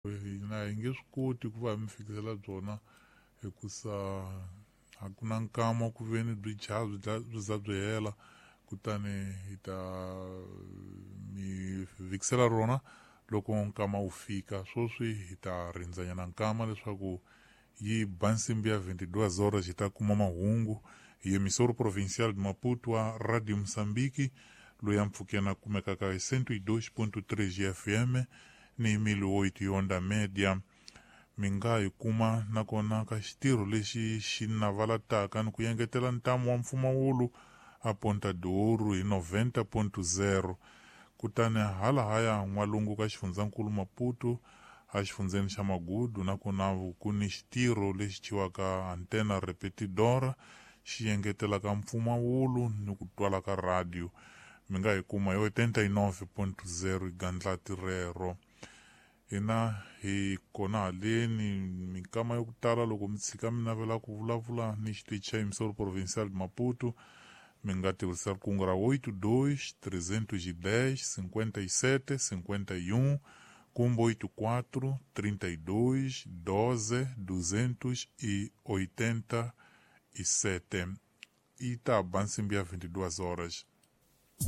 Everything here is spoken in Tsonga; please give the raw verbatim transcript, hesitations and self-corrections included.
Hina hi nge swi koti ku va hi mi fikisela byona hikusa a ku na nkama ku ve ni byi dya byi dla byi za byi hela, kutani hi ta mi fikisela rona loko nkama wu fika. Sweswi hi ta rindzanyana nkama leswaku yi ba nsimbi ya vinte e duas horas, hi ta kuma mahungu hi Emissora Provincial de Maputo wa Radio Moçambique, loyi a mpfhukeni a kumekaka hi cento e dois ponto três F M ni mil e oito onda média. Mi nga hi kuma nakona ka xitirho lexi xi navalataka ni ku engetela ntamu wa mpfumawulo a Ponta do Ouro hi noventa ponto zero. Kutani halahaya n'walungu ka xifundzankulu Maputo, a xifundzeni xa Magudu, nakona ku ni xitirho lexi thyiwaka antena repetidora, xi engetelaka mpfumawulo ni ku twala ka radio. Mi nga hi kuma hi oitenta e nove ponto zero gandlati rero. Hina hi kona haleni minkama yo ku tala. Loko mi tshika mi navela ku vulavula ni xitichi xa Emissora Provincial de Maputo, mi nga tirhisa riqingho ra oitenta e dois trezentos e dez cinquenta e sete cinquenta e um kumbe oitenta e quatro trinta e dois doze duzentos e oitenta e sete. E ta ba nsimbi ya vinte e duas horas.